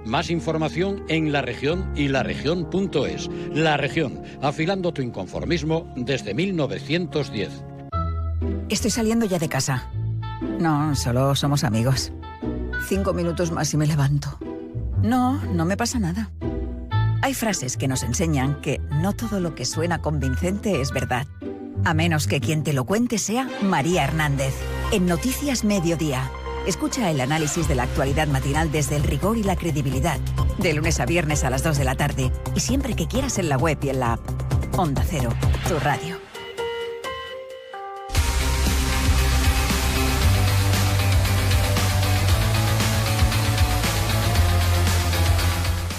Más información en La Región y laregion.es. La Región, afilando tu inconformismo desde 1910. Estoy saliendo ya de casa. No, solo somos amigos. 5 minutos más y me levanto. No me pasa nada. Hay frases que nos enseñan que no todo lo que suena convincente es verdad. A menos que quien te lo cuente sea María Hernández. En Noticias Mediodía. Escucha el análisis de la actualidad matinal desde el rigor y la credibilidad. De lunes a viernes a las 2 de la tarde. Y siempre que quieras en la web y en la app. Onda Cero, tu radio.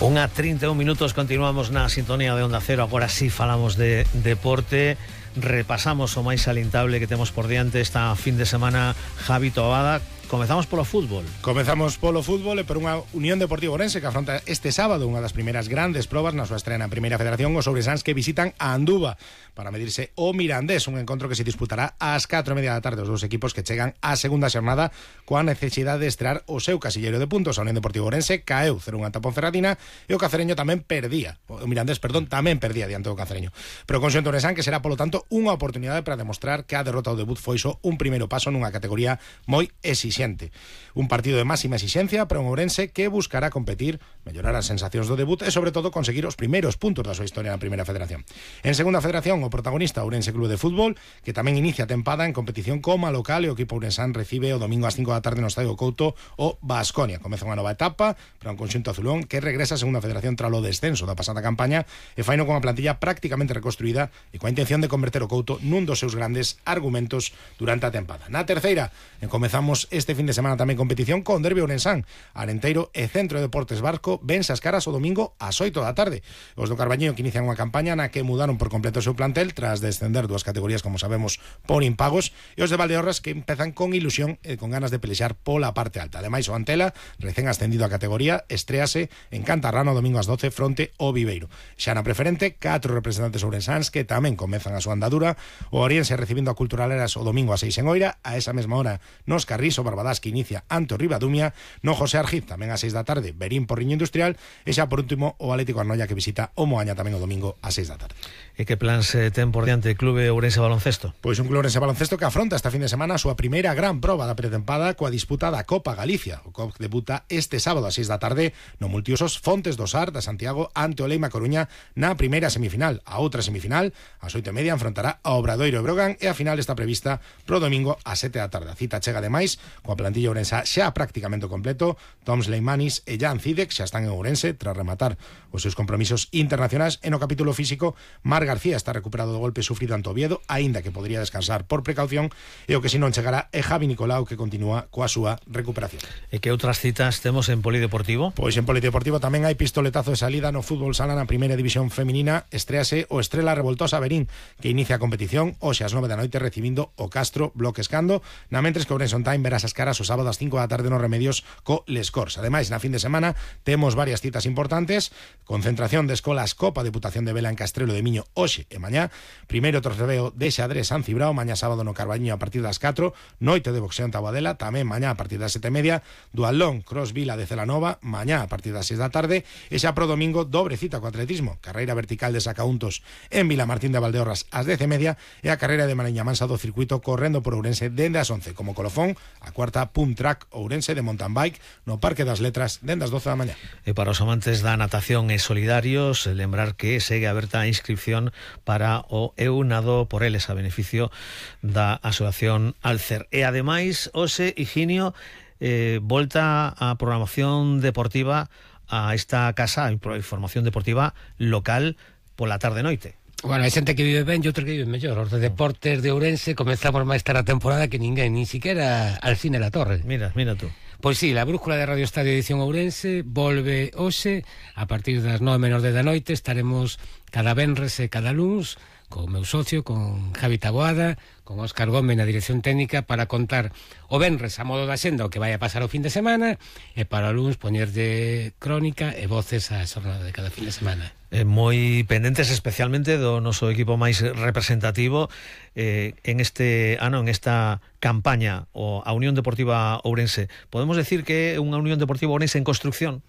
1:31 minutos, continuamos na sintonía de Onda Cero. Agora sí falamos de deporte. Repasamos o máis salientable que temos por diante esta fin de semana. Javi Toabada, comezamos polo fútbol. Comezamos polo fútbol e por unha Unión Deportiva Ourense que afronta este sábado unha das primeiras grandes probas na súa estrena en Primeira Federación, os ourensáns que visitan a Anduva para medirse o Mirandés, un encontro que se disputará ás 4:30 da tarde. Os dous equipos que chegan á segunda xornada coa necesidade de estrear o seu casilleiro de puntos. A Unión Deportiva Ourense caeu 0-1 ante a Ponferradina e o Cacereño tamén perdía, o Mirandés, tamén perdía diante do Cacereño. Pero con xente ourensán que será, polo tanto, unha oportunidade para demostrar que a derrota ao debut foi só un primeiro paso nunha categoría moi exixente. Un partido de máxima exixencia para un ourense que buscará competir, mellorar as sensacións do debut e, sobre todo, conseguir os primeiros puntos da súa historia na Primeira Federación. En Segunda Federación, o protagonista Ourense Club de Fútbol, que tamén inicia a tempada en competición como local, e o equipo ourensán recibe o domingo ás 5 da tarde no Estadio Couto o Baskonia. Comeza unha nova etapa para un conxunto azulón que regresa a Segunda Federación tras o descenso da pasada campaña e faino con a plantilla prácticamente reconstruída e coa intención de converter o Couto nun dos seus grandes argumentos durante a tempada. Na terceira, comezamos este fin de semana tamén competición con derbi ourensán. Arenteiro e Centro de Deportes Barco vense as caras o domingo ás 8 da tarde. Os do Carballiño que inician unha campaña na que mudaron por completo o seu plantel tras descender dúas categorías, como sabemos, por impagos, e os de Valdeorras que empezan con ilusión e con ganas de pelexar pola parte alta. Ademais, o Antela, recén ascendido a categoría, estréase en Cantarrano o domingo ás 12 fronte ao Viveiro. Xa na preferente, 4 representantes ourensáns que tamén comezan a súa andadura. O Oriense recibindo a Culturaleras o domingo ás 6 en Oira. A esa mesma hora nos Carrís o Barbadás que inicia ante o Ribadumia. No José Argiz tamén ás 6 da tarde Berín por Riño Industrial. E xa por último o Atlético Arnoia que visita o Moaña tamén o domingo ás 6 da tarde. E que plans ten por diante Clube Ourense Baloncesto? Pois un Clube Ourense Baloncesto que afronta esta fin de semana a súa primeira gran proba da pretempada coa disputa da Copa Galicia. O COP debuta este sábado ás 6 da tarde no multiusos Fontes do Sar da Santiago ante o Leima Coruña na primeira semifinal. A outra semifinal, ás 8:30, enfrontará a Obradoiro e Brogan e a final está prevista pro domingo ás 7 da tarde. A cita chega ademais coa plantilla ourensa xa prácticamente completo. Tom Sleimanis e Jan Cidek xa están en Ourense tras rematar os seus compromisos internacionais. E no capítulo físico, Mar García está recuperado do golpe sufrido ante Oviedo, aínda que podría descansar por precaución, e o que si non chegará é Javi Nicolau, que continúa coa súa recuperación. E que outras citas temos en Polideportivo? Pois en Polideportivo tamén hai pistoletazo de salida no fútbol sala na primeira división feminina. Estréase o Estrela Revoltosa Berín, que inicia a competición hoxe ás 9 da noite recibindo o Castro Bloques Cando, na mentres que Ourense On Time verás as caras o sábado ás 5 da tarde nos Remedios co Les Corts. Ademais, na fin de semana temos varias citas importantes. Concentración de escolas Copa Deputación de Vela en Castrelo de Miño hoxe e mañá. Primeiro trofeo de xadrez San Cibrao mañá sábado no Carballiño a partir das 4. Noite de boxeo en Taboadela tamén mañá a partir das 7:30. Dualón Cross Vila de Celanova mañá a partir das 6 da tarde. E xa pro domingo dobre cita co atletismo, carreira vertical de sacauntos en Vilamartín de Valdeorras ás 10:30 e a carreira de Mariña Mansa do circuito correndo por Ourense dende as 11 como colofón a cuarta Pump Track Ourense de mountain bike no Parque das Letras dende as 12 da mañá. E para os amantes da natación e solidarios, lembrar que segue aberta a inscripción para o Eu Nado por Eles a beneficio da Asociación Alcer. E ademais, hoxe, Higinio, volta a programación deportiva a esta casa, a información deportiva local pola tarde-noite. Bueno, hai xente que vive ben e outros que vive mellor. Os de deportes de Ourense comezamos máis tarde a temporada que ninguén, nin siquiera Alcine La Torre. Mira tú. Pois sí, a brújula de Radio Estadio Edición Ourense volve hoxe a partir das 9:10 da noite. Estaremos cada venres e cada luns con meu socio, con Javi Taboada, con Óscar Gómez na dirección técnica para contar o venres a modo da xenda o que vai a pasar o fin de semana e para o luns poñer de crónica e voces á xornada de cada fin de semana. Moi pendentes especialmente do noso equipo máis representativo en este ano, en esta campaña a Unión Deportiva Ourense. Podemos decir que é unha Unión Deportiva Ourense en construcción?